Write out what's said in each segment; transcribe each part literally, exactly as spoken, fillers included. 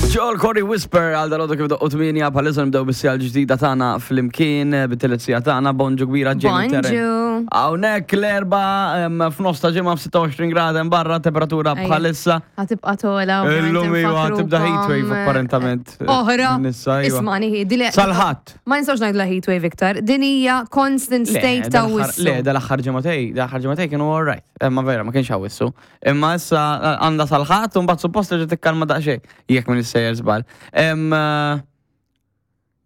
Joel Corry, Whisper, għal dalgħodu kif doqqu tmienja bħalissa nibdew bis-siegħa l-ġdida tagħna flimkien bit-tielet siegħa tagħna. Bonġu kbira, Jamie Terren. Bonġu. Hawnhekk l-Erbgħa em, f'nofs ta' ġimgħa, f'sitta u għoxrin grad hemm barra temperatura Ejja. bħalissa. Ħa tibqa' togħla. Illum iva tibda heatwave apparentament. Oħra. Nissa, iva. Ismani, dile. Sal-Ħadd. Ma nistgħux ngħidu heatwave iktar. Din hija constant state ta' wissu. Le, dal-aħħar ġimagħtejn, dal-aħħar ġimagħtejn kienu all right. Imma vera, ma kienx wissu. Imma issa għandha sal-Ħadd u mbagħad suppost terġa' tikkalma daqsxejn. Jekk minn sejjer żball. Em, eh,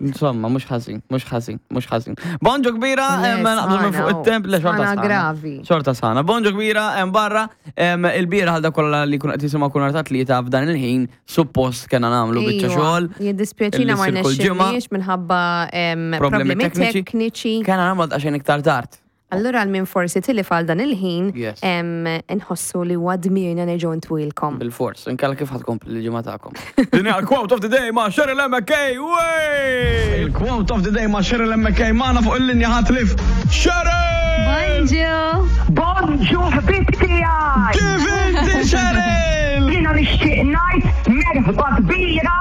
Insomma, mhux ħażin, mhux ħażin, mhux ħażin. Bonġu kbira, Le, em, naqbżu minn fuq sħana, it-temp, le xorta sħana sħana. gravi. Xorta sħana. Bonġu kbira, hemm barra, em, il-bieraħ għal kollha li kun qed jisimgħu kun ta' tlieta f'dan il-ħin, suppost kena nagħmlu biċċa Iva, xogħol. Jiddispjaċina illi ma ssir kull ġimgħa. rnexxilniex minħabba em, Problemi problemi tekniċi. tekniċi. Kena nagħmlu daqsxejn iktar tard. Allura għal min forsi tilif għal dan il-ħin, Yes. em, nħossu li huwa dmirna nerġgħu ntwilkom. Bil-fors, inkella kif ħa tkompli l-ġimgħa tagħkom? Din hija l-quote of the day ma' Cheryl M K. Wey! Il-quote of the day ma' Cheryl M K magħna fuq il-linja ħatlif. Cheryl! Bonġu! Bonġu, ħbib tiegħi! Kif inti, Cheryl? Jiena nixtieq ngħid merħba kbira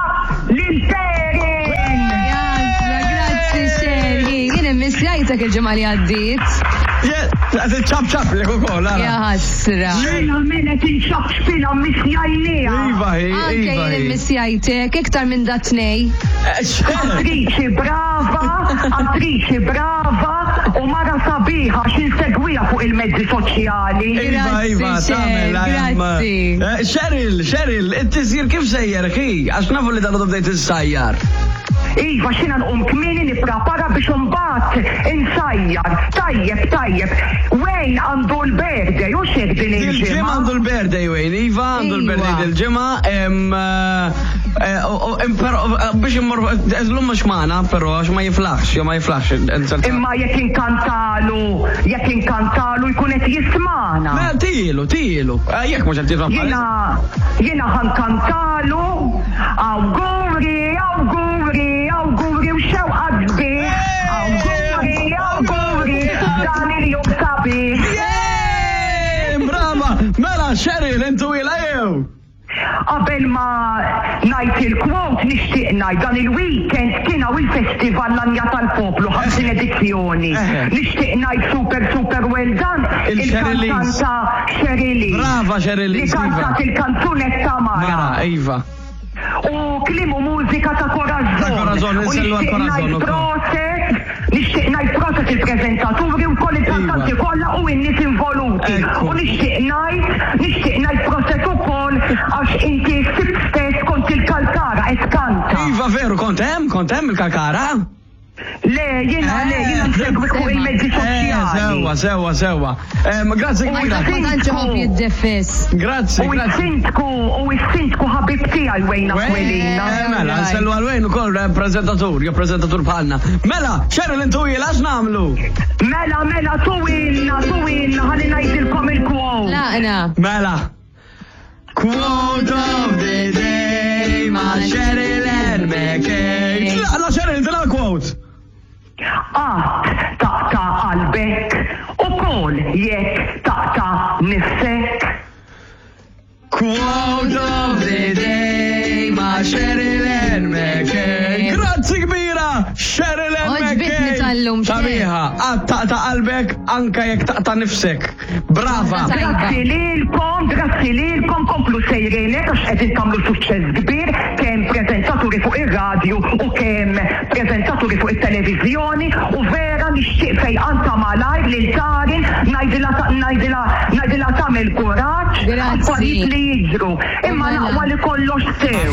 lil Perin! Jazza, grazzi, Sherry. Jien immissjajtek il-ġimgħa li għaddiet. Qed ċap ċap li ukoll, ara. Ja ħasra. Mela mela tinxab xpila missjajnija. Iva, hi, Anke iva. jien hi. immissjajtek iktar minn dat-tnej. Eh, Cheryl! Attriċi brava, attriċi brava u mara sabiħa x'insegwiha fuq il-mezzi soċjali. Iva, iva, Grazzi, tagħmel, Cheryl, grazzi. Eh, Cheryl, Cheryl, it-tisjir kif sejjer, hi? Għax nafu li dan bdejt issajjar. Iva, xina nqum kmieni nipprepara biex imbagħad insajjar. Tajjeb, tajjeb. Wayne għandu l-birthday u xek din Il-ġimgħa il-ġimgħa. għandu l-birthday, Wayne, iva, għandu l-birthday Iva. dil-ġimgħa, em, eh, eh, u- u- em, però, eh, biex immur, l-lum mhux magħna, però għax ma jiflaħx, jew ma jiflaħx. Imma jekk inkantalu, jekk inkantalu jkun qed jismana. Mela, tilu, tilu. Eh, Jekk mhux qed jisma' Jiena, jiena ħa nkantalu, awguri, awguri, awguri u xewqa sbieħ. Awguri, awguri, dan il-jum sabiħ. Yeah! Brava! Mela, Cheryl, intu ila jew? Qabel ma ngħid il-quote nixtieq ngħid dan il-weekend kien hawn il-festival L-Għanja tal-Poplu, ħamsin edizzjoni. Eh. Nixtieq ngħid super super well done Il-Cheryl Lees. il-kantanta Cheryl Lees. Brava, Cheryl Li Lees, iva. kantat il-kanzunetta Mara, Mara. iva. U kliem u mużika ta' Corazon. Ta' Corazon, U insellu għal nixtieq Corazon ngħid ukoll. proset, nixtieq ngħid proset il-preżentaturi u koll il-kantanti Iva. kollha u n-nies involuti. Ekku. U nixtieq ngħid, nixtieq ngħid proset ukoll għax inti sibt stess kont il-Kalkara qed kanta. Iva, veru, kont hemm, kont hemm il-Kalkara? Le, jiena le, jiena nsegwi fuq il-mezzi Eh, soċjali. Sewwa, sewwa, sewwa. Em, Grazzi kbira. Ma tantx iħobb jiddefis. Grazzi, U grazzi. s-sindku, u s-sindku ħabib tiegħi Wayne Aquilina. Eh, mela, nsellu għal Wayne ukoll prezentatur, jew prezentatur bħalna. Mela, Cheryl, intu ila x'nagħmlu? Mela, mela, tuwilna, tuwilna, ħalli ngħidilkom il-quote. Laqna. Mela. Quote of the day ma' Cheryl Ann McKay. La, Cheryl, tina quote. Qatt taqta' qalbek ukoll jekk taqta' nifsek. Quote of the day ma' Cheryl Ann McKay. Grazzi kbira, Cheryl Ann Għoġbitni McKay. tal-lum, Sabiħa, qatt taqta' qalbek anka jekk taqta' nifsek. Brava. Tajba. Grazzi lilkom, grazzi lilkom, komplu sejrinek għax qegħdin tagħmlu suċċess kbir kemm preżentaturi fuq ir-radju u kemm preżentaturi fuq it-televiżjoni u vera nixtieq fejqan ta' malajr lil Tarin, ngħidilha ngħidilha ngħidilha tagħmel kuraġġ Grazzi. affarijiet li jiġru. Imma Mela. naqwa li kollox sew.